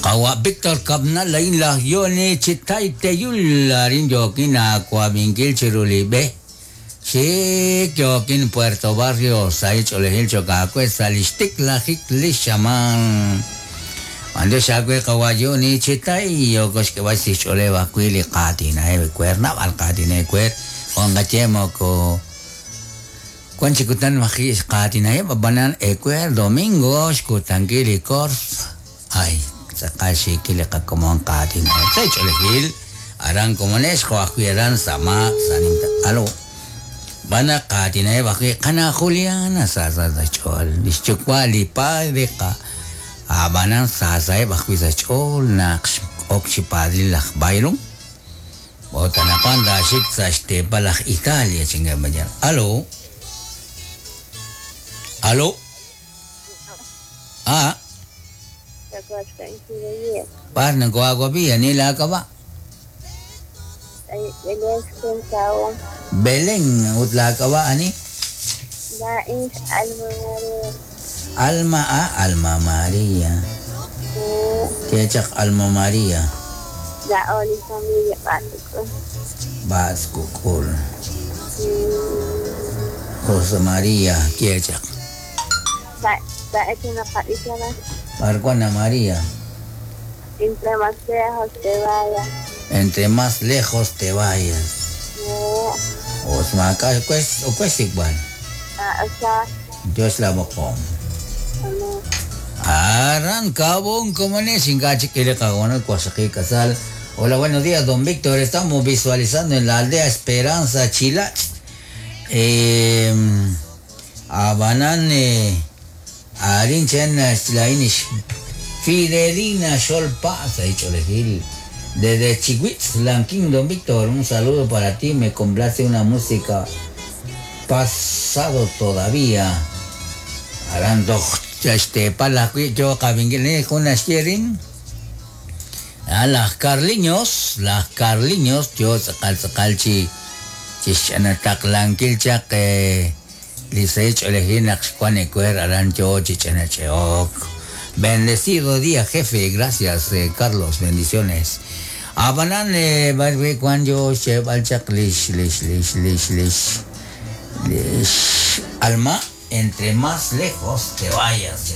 Qawa' Victor Kab'nal a'in laj Yoni chi Tay Teyul arin yookin aawab'inkil chiru li b'e xik yookin Puerto Barrios sahil ch'oolejil cho'q aawe sa' li xtiklajik li xamaan. B'anyox aawe qawa' Yoni chi Tay yooko xk'eb'al chi xch'ooleb' ajwi' li qaatinaheb' ewer naab'al qaatinaheb' ewer jo' nqaye moko Wan chi kutan maji' xqaatinaheb' ab'anan ewer domingo xkutankil li kors ay tz'aqal xiikil li qakomon qaatinaheb' sa' ch'oolejil aran komonex jo' ajwi' aran sa' maak sa' nimta alo b'an naq qaatinaheb' ajwi' qana' Juliana sa sa sa' xch'ool li xyuwa' li padre qa ab'anan sa saheb' ajwi' sa' xch'ool naq x'ok chi padril laj Byron Ut anaqwan taaxik sa' xteepal aj Italia, chankeb' mañana. Alo. Alo. Ah. B'ar nakohaawab'i, ani laak'ab'a'? Belén, ut laak'ab'a' ani? Laa'in Alma María. Alma, ah, Alma María. Ye chaq Alma María. Laa'o li familia B'atz'uk'ul. B'atz'uk'ul. José María, ye chaq. Laa'ex naqab'icha raj. B'ar wan a María? Entre más lejos te vayas. Entre más lejos te vayas. Os maak'a' we xsik'b'al. Dios la b'oqom. Aran Cabón, komones, ink'a' chik k'ila qahoonal waqxaqib' k'asal. Hola, buenos días, don Víctor. Estamos visualizando en la aldea Esperanza, Chilach. Eh, ab'anan arin chan laa'in Fidelina Xolpa sa' ch'oolejil. Desde Chihuitz, Lanquín, don Víctor, un saludo para ti. Me complace una música pasado todavía. Aran toj xteepal ajwi' yo qab'inkil jun naxye rin. Ah, laj Carliños, laj Carliños, yo tz'aqal tz'aqal chi chixch'anataqlankil chaq li sahil ch'oolejil naq xwan ewer aran yo chi ch'anach'e'ok. Bendecido día, jefe. Gracias, Carlos. Bendiciones. Ab'anan b'ar wi' wan yo xyeeb'al chaq lix lix lix lix lix lix alma entre más lejos te vayas.